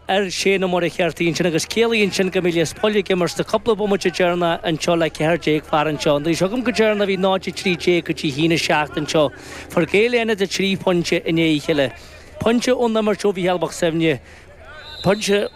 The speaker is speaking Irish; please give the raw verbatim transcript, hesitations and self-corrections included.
ar Shane Ó Muircheartaigh ansin agus ciallaíonn sin go mbeidh Lios Póil ag imirt sna cúpla bomaite deireanach anseo le ceathair déag fear anseo. An dtaobh seo agam go deireanach bhí náid a trí déag go dtí haon a seacht anseo. Fuair Gaeil Fhánada trí phointe i ndiaidh a chéile. Pointe ón imirt ó Mhícheál Mac Suibhne, pointe